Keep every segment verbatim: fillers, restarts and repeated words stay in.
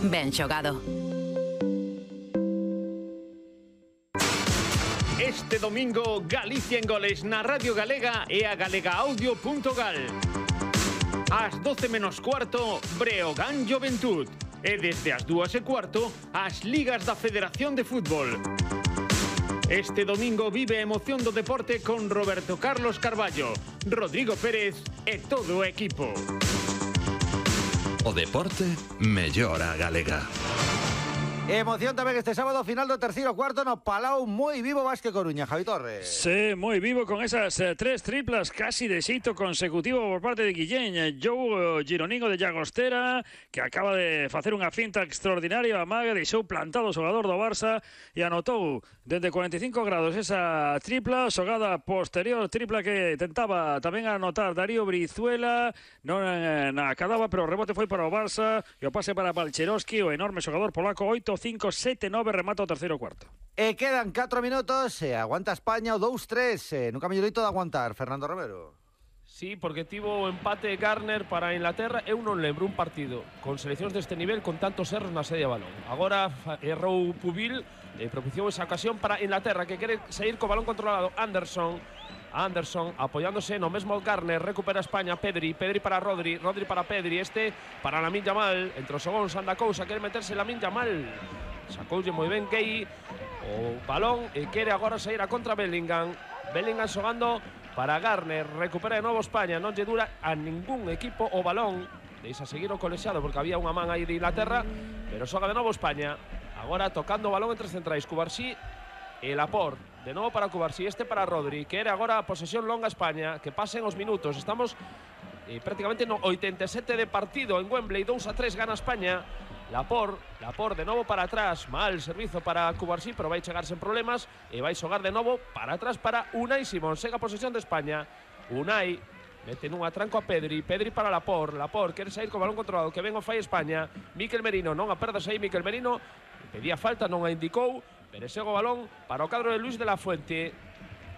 Ben xogado. Este domingo, Galicia en goles na Radio Galega e a galegaaudio punto gal. Ás doce menos cuarto, Breogán Juventud. E desde as dúas e cuarto, as ligas da Federación de Fútbol. Este domingo vive a emoción do deporte con Roberto Carlos Carballo, Rodrigo Pérez e todo o equipo. O deporte mellora a galega. Emoción tamén este sábado, final do terceiro cuarto no Palau, moi vivo Vázquez Coruña, Javi Torres. Sí, moi vivo con esas eh, tres triplas casi de xeito consecutivo por parte de Guillén. Joe Gironino de Llagostera, que acaba de facer unha finta extraordinaria, a maga, deixou plantado o xogador do Barça e anotou dende cuarenta e cinco grados esa tripla, xogada posterior, tripla que tentaba tamén anotar Darío Brizuela, non eh, na acadaba, pero o rebote foi para o Barça e o pase para Balcherovski, o enorme xogador polaco. Oito cinco sete nove remata o terceiro cuarto. E quedan catro minutos, e aguanta España o dous tres, e nunca mellorito de aguantar, Fernando Romero. Sí, porque tivo o empate Garner para Inglaterra. Eu non lembro un partido con seleccións deste nivel con tantos erros na sede de balón. Agora errou Pubil e propiciou esa ocasión para Inglaterra, que quere sair co balón controlado. Anderson Anderson apoiándose no mesmo Garner, recupera España. Pedri, Pedri para Rodri, Rodri para Pedri, este para Lamine Yamal. Entre os segóns anda cousa, quere meterse Lamine Yamal. Sacoulle moi ben Gay o balón e quere agora sair a contra Bellingham. Bellingham xogando para Garner, recupera de novo España, non lle dura a ningún equipo o balón. Deixa seguir o colexiado porque había unha man aí de Inglaterra, pero xoga de novo España. Agora tocando o balón entre centrais, Cubarsí e Laporte. De novo para Cubarsí, este para Rodri, que era agora a posesión longa España, que pasen os minutos. Estamos eh, prácticamente no oitenta e sete de partido en Wembley, dous a tres gana España. Laporte, Laporte de novo para atrás, mal servizo para Cubarsí, pero vai chegar sen problemas e vai xogar de novo para atrás para Unai Simón. Sega a posesión de España. Unai mete nunha tranco a Pedri, Pedri para Laporte, Laporte quere sair co balón controlado, que ven o fai España. Mikel Merino, non a perdas aí Mikel Merino, pedía falta, non a indicou, pero sego o balón para o cadro de Luis de la Fuente.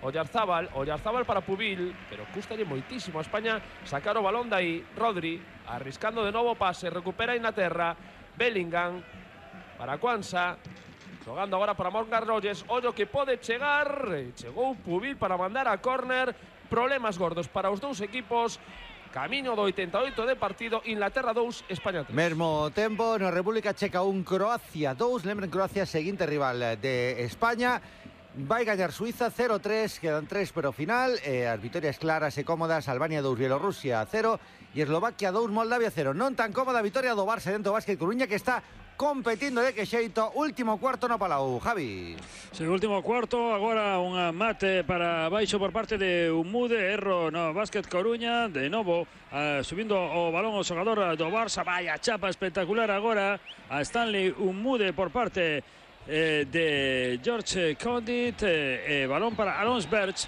Oyarzábal, Oyarzábal para Pubil, pero custalle moitísimo a España sacar o balón dai. Rodri, arriscando de novo pase, recupera Inglaterra. Bellingham para Kwanza, jogando agora para Morgan Rogers. Ollo que pode chegar, chegou Pubil para mandar a córner. Problemas gordos para os dous equipos. Camiño do oitenta e oito de partido. Inglaterra dous, España tres. Mesmo tempo na República Checa un, Croacia dous. Lembren, Croacia seguinte rival de España. Vai gañar Suiza cero tres, quedan tres pero final, e as vitorias claras e cómodas: Albania dous, Bielorrusia cero e Eslovaquia dous, Moldavia cero. Non tan cómoda a vitoria do Barça dentro do Vázquez Coruña, que está competindo de que xeito. Último cuarto no Palau, Javi. Sí, último cuarto, agora un mate para baixo por parte de Umude, erro no Vázquez Coruña, de novo uh, subindo o balón o xogador do Barça. Vaya chapa espectacular agora a Stanley Umude por parte Eh, de George Condit, eh, eh, balón para Alonso Berch,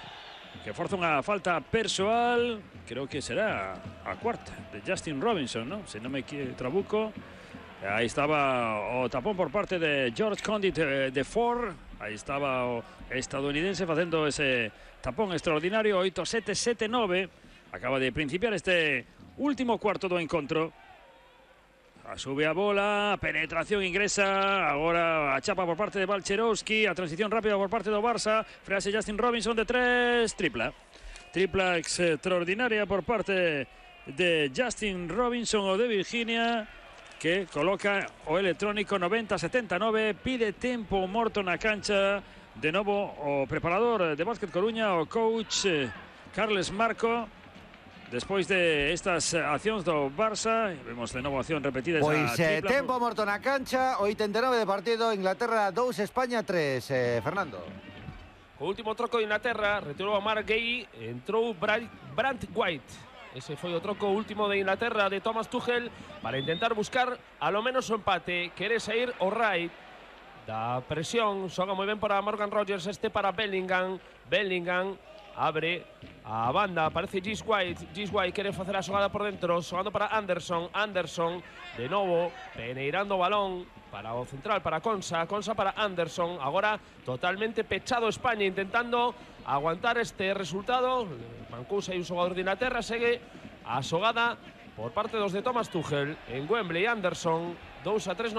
que forza unha falta persoal, creo que será a cuarta, de Justin Robinson, ¿no? Se non me trabuco. Aí estaba o tapón por parte de George Condit eh, de Ford. Aí estaba o estadounidense facendo ese tapón extraordinario. Oito sete sete nove. Acaba de principiar este último cuarto do encontro. A sube a bola, penetración ingresa, agora a chapa por parte de Balcherovski, a transición rápida por parte do Barça, frase Justin Robinson de tres, tripla. Tripla extraordinaria por parte de Justin Robinson o de Virginia, que coloca o electrónico noventa setenta e nove, pide tempo morto na cancha. De novo o preparador de Vázquez Coruña, o coach Carles Marco. Despois de estas accións do Barça, vemos de novo acción repetida. Pois esa eh, tempo morto na cancha, oitenta e nove de partido, Inglaterra dous, España tres, eh, Fernando. O último troco de Inglaterra, retirou a Mark Gay, entrou Brandt White. Ese foi o troco último de Inglaterra de Thomas Tuchel para intentar buscar a lo menos o empate. Quere sair o Wright da presión, xoga moi ben para Morgan Rogers, este para Bellingham. Bellingham abre a banda, aparece Gis White. Gis White quere facer a xogada por dentro, xogando para Anderson. Anderson de novo peneirando o balón para o central, para Konsa. Konsa para Anderson. Agora totalmente pechado España, intentando aguantar este resultado. Mancusa e un xogador de Inglaterra. Segue a xogada por parte dos de Thomas Tuchel en Wembley. Anderson dous a tres.